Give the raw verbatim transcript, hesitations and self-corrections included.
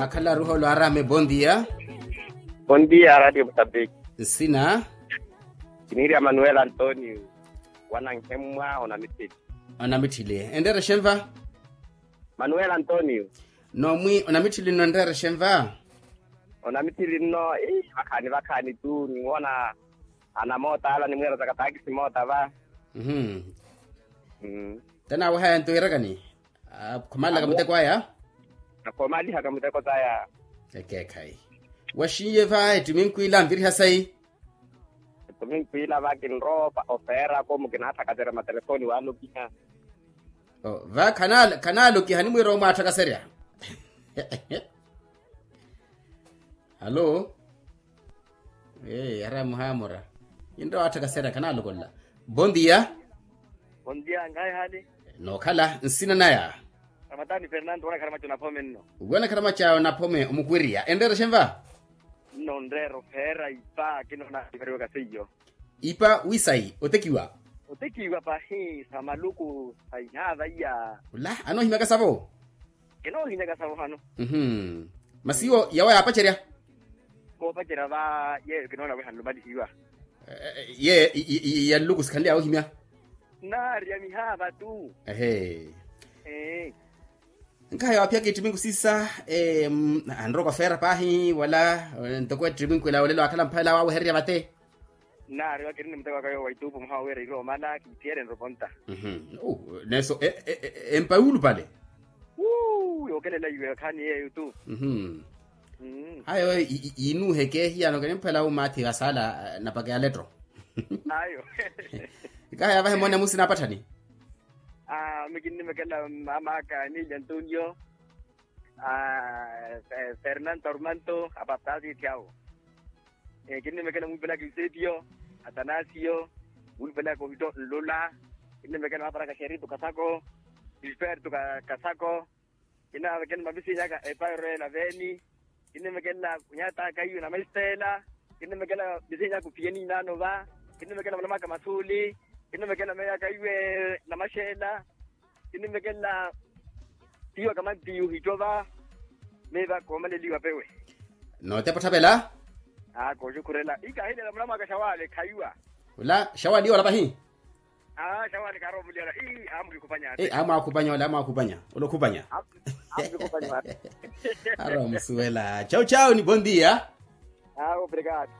Akhala aruholo arame bondia. Bondia radio mutapiki. Nsina? Kiniiri a manuel antonio. Wananhemwa onamithili. Onamithili enreere xenva? Manuel antonio. Nomwi onamithili nno enreere xenva? Onamithili nno. Vakhaani vakhaani tu niwoona. Anamoota ala nimwiira za kataakisi moota va. Te naawehaya nto iirakani? Akhomalelaka muteko aya. Akhomalihaka muteko saya. Ekeekhayi. Waxinye va ettiminkwila anviriha sayi. Ettiminkwila va kinrowa ofeerako mukinaathakaserya matelefoni waalokiha. Va khanaalokiha nimwiira omwaathakaserya. Alo. Ee ara muhaamura. Ninrowa waathakaserya khanalokolla. Bondia. Bondia nkhayi haali. Nookhala nsina naya? Ramatani fernando wanakhara macha onaphome nno. Wanakhara macha onaphome omukwiriya enreere xenva? Nno nreera ofeera ipa kinoona ivariwaka seiyo. Ipa wisayi otekiwa? Otekiwa pahi sa maluku sa ihaava iya. Ola anoohimyaka savo. Kinoohinyaka sawo hano. Masi iwo yawo yaapacerya? Koopacerya va yeeyo kinoona wi hanlumalihiwa. Ye ya nluku sikhanly'awe ohimya. Naari ya mihaava tu. Ehe. Nkaha yawaaphiyaka ittiminku siisa. Anroka ofeera paahi wala ntoko ettiminku ela olelo waakhala mphalela waawehererya vate. Nnaariwa kirini muteko aka yoowo wa ituupu mwaha wira iri omala kiitthiyereni roponta. Neso empa yuulupale. Yookelela iwe khaani yeeyo tu. Ayo yinuuheke hiyano kinimphela umaathi asaala. Napaka ya letro. Ayo. Ikaha yavahe mone musi naapatthani. Mikinnimekela mamaaka emilio antonio. Fernando armanto apaptaasi itthyaawo. Kinnimekela muupelaka eusepio, atanasio, muupelaka ohitto nlula. Kinnimekela maapara kaxerito kasako, gilberto kasako. Kinnimekela mavisinyaka epairo ela veeni. Kinnimekela kunyataka iwe na maistela. Kinnimekela visinyaka upiyeni inaano va. Kinnimekela manamaka masuuli. Kinnimekela meeyaka iwe na maxeela. Kinimekela. Tiyo kamantiyo hitova. Miva koomaleliwa pewe. Nootepa otthavela. Aa kooxukhurela ikahilela muna mwaka xawale khaiwa. Ola xawale iwala pahi. Aa xawale kaaromulyala ii aamukikupanya. Aamwakupanya ole aamwakupanya ole okhupanya. Aamukikupanya. Aromusuwela chau chau ni bondia. Aa obrigado.